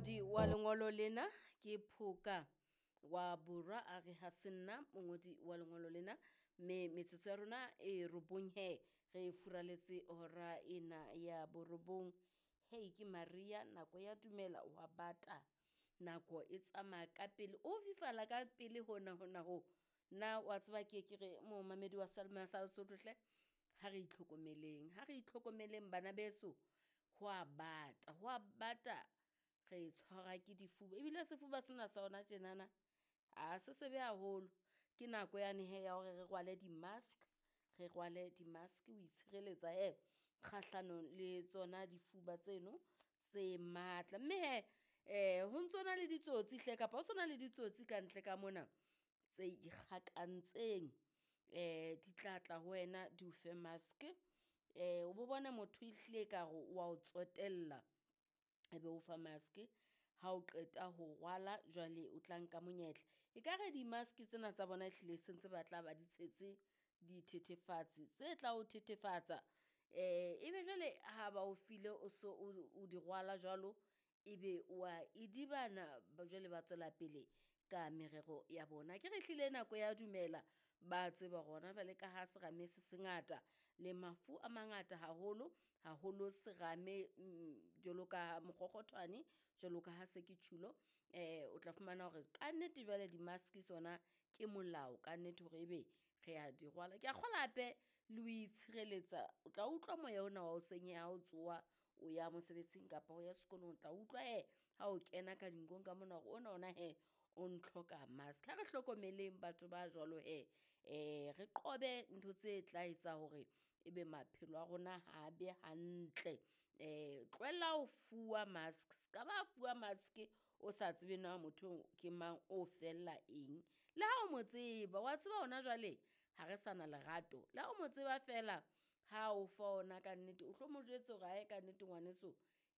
Mongodi wa lengolo lena ke Phoka wa Borwa a re ha se nna mongodi wa lengolo lena, mme metsotso ya rona e robong he re furaletse hora ena ya borobong. Hei ke Maria nako ya dumela wa bata, nako e tsamaya ka pele, o fifala ka pele hona hona ho. Nna wa tseba ke ke re momamedi wa seyalemoya sa Lesotho hle, ha re itlhokomeleng, ha re itlhokomeleng bana beso, ho a bata, ho a bata re tshwarwa ke difuba ebile sefuba sena sa hona tjenana, ha se sebe haholo. Ke nako yane hee ya hore re rwale di-mask, re rwale di-mask ho itshireletsa hee kgahlanong le tsona difuba tseno tse matla. Mme hee ho ntsona le ditsotsi hle kapa ho sona le ditsotsi kantle ka mona tse ikgakantseng, di tla tla ho wena di o fe mask, o bo bona motho ehlile ekare wa o tsotella, ebe o fa mask ha o qeta ho rwala jwale o tla nka monyetla. Ekare di-mask tsena tsa bona ehlile se ntse ba tla ba di tshetse dithethefatsi tse tla o thethefatsa, ebe jwale ha ba o file o so o di rwala jwalo, ebe wa idibana jwale ba tswela pele ka merero ya bona. Akere ehlile nako ya dumela, ba tseba hore hona jwale ka ha serame se se ngata le mafu a mangata haholo, haholo serame jwalo ka mokgokgothwane, jwalo ka ha se ke tjhulo, o tla fumana hore kannete jwale di-mask tsona ke molao kannete hore ebe re a di rwala. Ke a kgolwa hape le ho itshireletsa, o tla utlwa moya ona wa hoseng ha o tsoha o ya mosebetsing kapa o ya sekolong, o tla utlwa hee ha o kena ka dinkong ka mona hore ona ona hee o ntlhoka mask. Ha re hlokomeleng batho ba jwalo hee, re qobe ntho tse tla etsa hore ebe maphelo a rona ha a be hantle. Tlohella ho fuwa mask, ska ba fuwa mask o sa tsebe na motho eo ke mang, o fella eng. Le ha o mo tseba, wa tseba hona jwale ha re sa na lerato, le ha o mo tseba feela ha o fa ona kannete o hlo mo jwetse hore ae kannete ngwaneso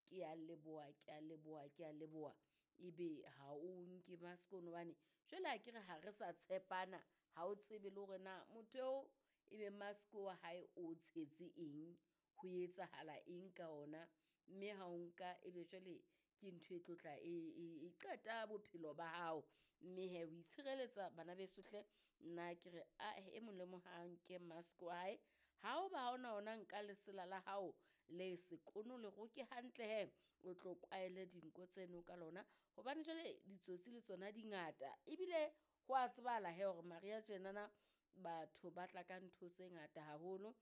ke a leboha, ke a leboha, ke a leboha, ebe ha o nke mask ono hobane jwale akere ha re sa tshepana, ha o tsebe le hore na motho eo ebe mask wa hae o tshetse eng, ho etsahala eng ka ona, mme ha o nka ebe jwale ke ntho e tlo tla e qeta bophelo ba hao. Mme hee ho itshireletsa bana beso hle, nna ke re ae e mong le mong ha nke mask wa hae, ha o ba ha ona ona nka lesela la hao le sekono le roke hantle hee, o tlo kwaele dinko tseno ka lona, hobane jwale ditsotsi le tsona di ngata ebile ho a tsebahala hee hore mariha tjenana batho ba tla ka ntho tse ngata haholo,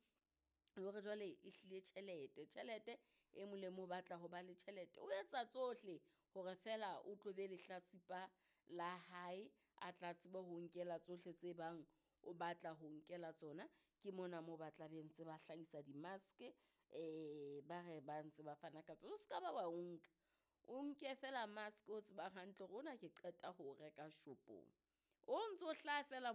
le hore jwale ehlile tjhelete, tjhelete e mong le mong o batla ho ba le tjhelete. O etsa tsohle hore feela o tlo be lehlatsipa la hae, a tla tsebe ho nkela tsohle tse bang o batla ho nkela tsona. Ke mona moo ba tla be ntse ba hlahisa di-mask, ba re ba ntse ba fana ka tsona, o ska ba wa o nka, o nke feela mask o tsebang hantle hore ona ke qeta ho o reka shopong, o ntso hlaha feela.